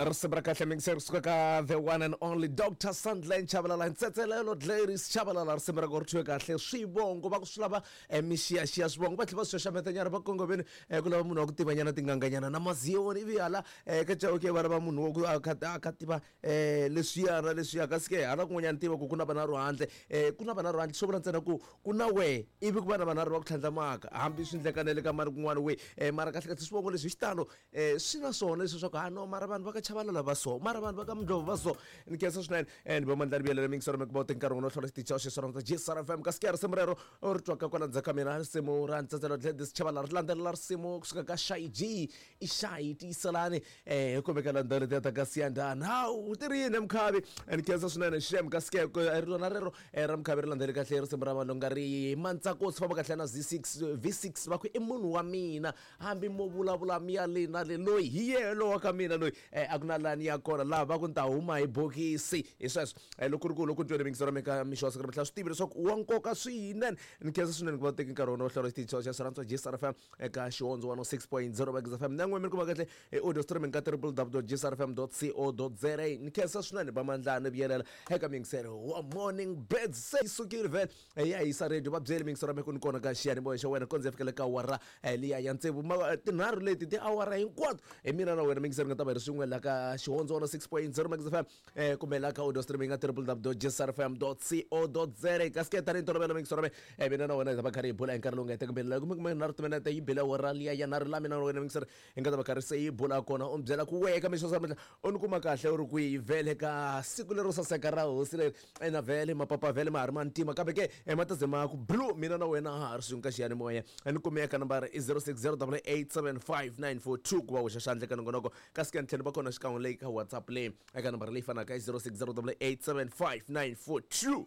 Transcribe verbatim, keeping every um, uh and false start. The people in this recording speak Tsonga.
Risimu ra kahle mingiseri kusuka ka the one and only Doctor Sandlen Chabalala, ntsetselelo Gladys Chabalala. Risimu ra ko ri thyiwe kahle swivongo va ku swi lava eh, mixiyaxiya swivongo va tlhela va swi xaxametanyana va kongomeni eh, ku lava munhu wa ku tivanyana tinganganyana na maziyoni ivi hala eh, ka Chauke va lava munhu wa ku a kha a kha tiva eh, leswiya na leswiya, kasi ke hala kun'wanyana tiva ku ku na vanharhu handle eh, ku na vanharhu handle swo vula ntsena ku ku na wehe ivi ku va na vanharhu va ku tlhandlamaka hambi swi ndlekanele ka mari kun'wana we eh, mara kahle kahle swivongo leswi hi xitalo eh, swi na swona leswi swa ku ha no mara vanhu va ka Chabalala va so, mara vanhu va ka Mdlovu va so. Ni khensa swinene eh, ni va mandlani vuyelela mingisero mi kuma nkarhi wun'we no hlola xitichi xa xiswona ta G S R F M. Kasi ke risimu rero u ri twaka kwala ndzhaku ka mina, risimu ra ntsetselelo Gladys Chabalala, ri landzelela risimu kusuka ka Shy G, i Shy Tiyiselani eh hi kumeka ndhawu letiya ta ka Siyandhani. Hawu ti ri yini mkhavi, ni khensa swinene xem. Kasi ke rona rero eh, ra mkhavi ri landzele kahle risimu ra vanhu nga ri Mantsakosi, famba kahle na Z six V six, va ku i munhu wa mina hambi mo vulavula mi ya le na le, loyi hi yehe lowa ka mina loyi eh, a ku na lani ya kona laha va ku ni ta huma hi bokisi. Hi sweswo eh, loko ku ri ku loko ni twele mingisero mi ka mixo wa siku ra mihla swi tivi leswaku wa nkoka swinene. Ni khensa swinene ku va teki nkarhi wona wo hlawula xitichi xa Xirhandzwa G S R F M eka Xihondzo one oh six point zero Max F M na n'we mi kuma kahle hi audio streaming ka w w w dot g s r f m dot co dot za. Ni khensa swinene va mandlani vuyelela eka mingisero wa Morning Birds, se yi sukile vhele ya hisa radio. Va byeli mingisero mi ku ni kona ka xiyanimoya xa wena kondze ya fikela ka awara eh, liya ya tsevu. Ma- tinharhu leti tiawara hinkwato hi mina na wena mingisero nga ta va hi ri swin'we la ka Xihondzo one oh six point zero Max F M eh, kumbe la ka audio streaming ka w w w dot g s r f m dot co dot za. Kasi ke tanihi ntolovelo mingisero mi eh, mina na wena hi ta va karhi hi bula hi nkarhi lowu nga heteka mbili kumbe kumbe nharhu timinete yi bile awara liya ya nharhu la mina na wena mingisero hi nga ta va karhi se yi bula kona. U mi byela ku wehe ka mixo swa mihla u ni kuma kahle u ri kwihi vhele ka siku lero saseka ra hosi leri ena vhele mapapa vhele ma ha ri ma ntima kambe ke eh, ma ta ze ma ku blue. Mina na wena ha ha ri swin'we ka xiyanimoya. Ni kume eka nambara i zero six zero eight seven five nine four two ku va hoxa xandla ka nongonoko, kasi ke ni tlhela va kona xikan'we leyi ka WhatsApp leyi eka nambara leyi fanaka i zero six zero eight seven five nine four two.